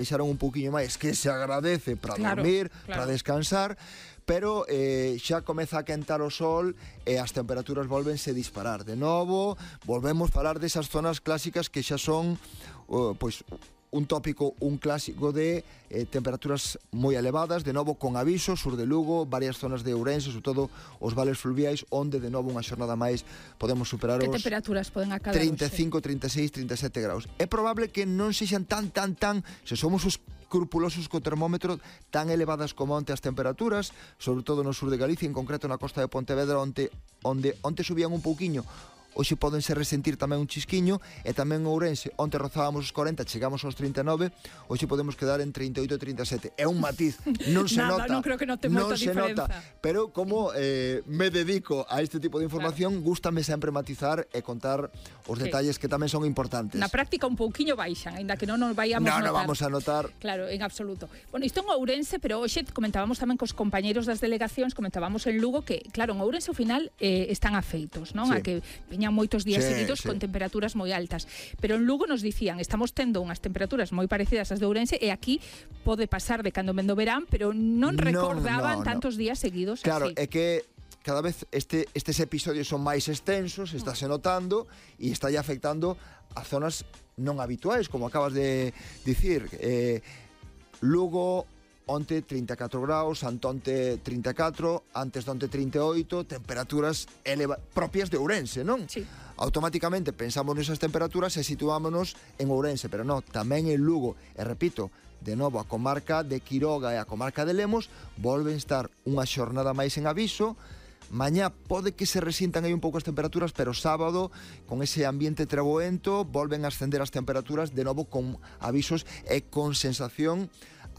baixaron un pouquiño máis, que se agradece para dormir, para descansar, pero xa comeza a quentar o sol e as temperaturas volvense disparar. De novo, volvemos a falar desas zonas clásicas que xa son pois un tópico, un clásico de temperaturas moi elevadas, de novo con aviso, sur de Lugo, varias zonas de Ourense, sobre todo os vales fluviais, onde de novo unha xornada máis podemos superar os temperaturas poden acadar 35, 36, 37 graus. É probable que non sexan tan, se somos os escrupulosos co termómetro, tan elevadas como onte as temperaturas, sobre todo no sur de Galicia, en concreto na costa de Pontevedra, onde subían un pouquiño. Hoxe podense resentir tamén un chisquiño, e tamén en Ourense, onte rozábamos os 40, chegamos aos 39, hoxe podemos quedar en 38 e 37. É un matiz, non se nota. Non creo que note moita diferenza. Pero como me dedico a este tipo de información, gústame sempre matizar e contar os detalles que tamén son importantes. Na práctica un pouquiño baixan, aínda que non nos vayamos notar. Non vamos a notar. Claro, en absoluto. Bueno, isto en Ourense, pero hoxe comentábamos tamén cos compañeros das delegacións, comentábamos en Lugo que, claro, en Ourense ao final están afeitos, non? Sí. A que viñan moitos días seguidos con temperaturas moi altas, pero en Lugo nos dicían, estamos tendo unhas temperaturas moi parecidas ás de Ourense, e aquí pode pasar de cando vendo verán, pero non recordaban tantos días seguidos. Claro, así. é que cada vez estes episodios son máis extensos, estáse notando, e está afectando a zonas non habituais, como acabas de dicir. Lugo, onte 34 graus, antonte 34, antes de onte 38, temperaturas propias de Ourense, non? Sí. Automáticamente pensamos nesas temperaturas e situámonos en Ourense, pero non, tamén en Lugo. E repito, de novo, a comarca de Quiroga e a comarca de Lemos volven estar unha xornada máis en aviso. Mañá pode que se resintan aí un pouco as temperaturas, pero sábado, con ese ambiente treboento, volven a ascender as temperaturas, de novo con avisos e con sensación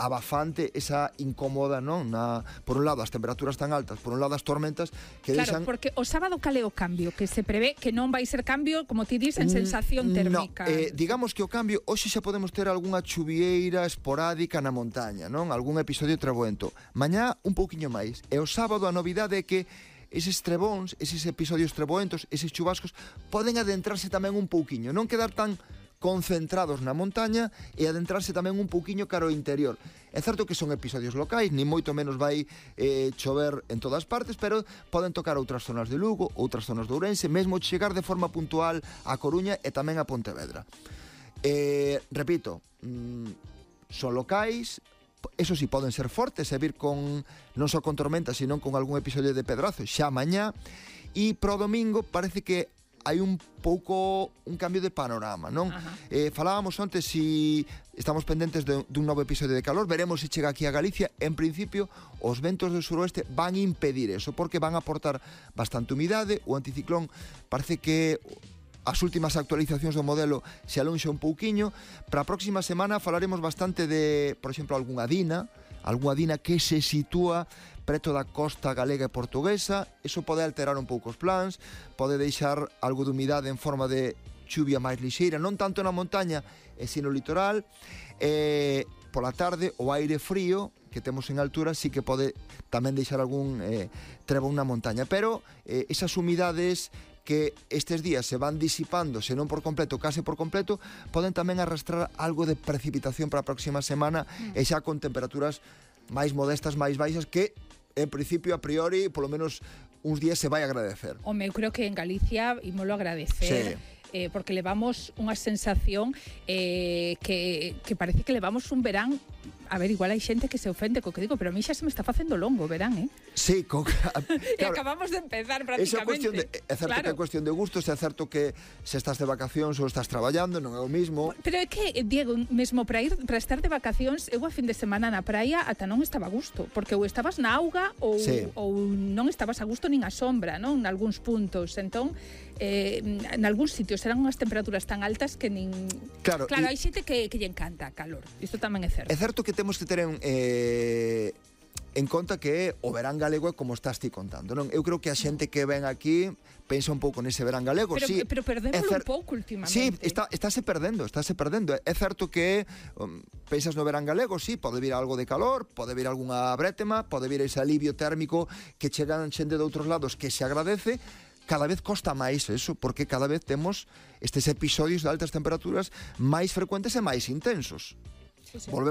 abafante, esa incómoda, non? Por un lado as temperaturas tan altas, por un lado as tormentas que deixan... Claro, porque o sábado cal é o cambio? Que se prevé que non vai ser cambio, como ti dis, en sensación térmica. Digamos que o cambio, hoxe xa podemos ter algunha chuvieira esporádica na montaña, non? Algún episodio treboento. Mañá un pouquiño máis. E o sábado a novidade é que eses trebóns, eses episodios treboentos, eses chubascos, poden adentrarse tamén un pouquiño, non quedar tan concentrados na montaña e adentrarse tamén un pouquiño cara ao interior. É certo que son episodios locais, ni moito menos vai chover en todas partes, pero poden tocar outras zonas de Lugo, outras zonas de Ourense, mesmo chegar de forma puntual a Coruña e tamén a Pontevedra. Repito, son locais, eso sí, poden ser fortes e vir con, non só con tormentas, sino con algún episodio de pedrazo xa mañá, e pro domingo parece que hai un pouco un cambio de panorama, non? Falábamos antes si estamos pendentes dun novo episodio de calor, veremos se chega aquí a Galicia. En principio, os ventos do suroeste van impedir eso, porque van a aportar bastante humidade. O anticiclón parece que as últimas actualizacións do modelo se alonxa un pouquiño. Para a próxima semana falaremos bastante de, por exemplo, algunha dina que se sitúa preto da costa galega e portuguesa. Eso pode alterar un pouco os plans, pode deixar algo de humidade en forma de chuvia máis lixeira, non tanto na montaña e sino no litoral. Pola tarde, o aire frío que temos en altura sí que pode tamén deixar algún trebón na montaña, pero esas humidades que estes días se van disipando, se non por completo, case por completo, poden tamén arrastrar algo de precipitación para a próxima semana, e xa con temperaturas máis modestas, máis baixas, que en principio, a priori, polo menos uns días se vai agradecer. Home, eu creo que en Galicia ímolo agradecer. Sí. Porque levamos unha sensación que parece que levamos un verán. A ver, igual hai xente que se ofende co que digo, pero a mí xa se me está facendo longo verán, Sí, claro, e acabamos de empezar prácticamente. É certo que é cuestión de gustos, é certo que se estás de vacacións ou estás traballando, non é o mismo. Pero é que, Diego, mesmo para estar de vacacións, eu a fin de semana na praia ata non estaba a gusto, porque ou estabas na auga ou non estabas a gusto nin a sombra, non? En algúns puntos. Entón, en algúns sitios eran unhas temperaturas tan altas que nin... Claro, hai xente que lle encanta a calor. Isto tamén é certo. É certo que temos que ter en conta que o verán galego é como estás ti contando, non? Eu creo que a xente que ven aquí pensa un pouco nese verán galego. Pero perdémoslo un pouco últimamente. Sí, estáse perdendo. É certo que pensas no verán galego, sí, pode vir algo de calor, pode vir algunha brétema, pode vir ese alivio térmico que chegan xente de outros lados que se agradece. Cada vez costa máis eso, porque cada vez temos estes episodios de altas temperaturas máis frecuentes e máis intensos. Sí, sí. Volvemos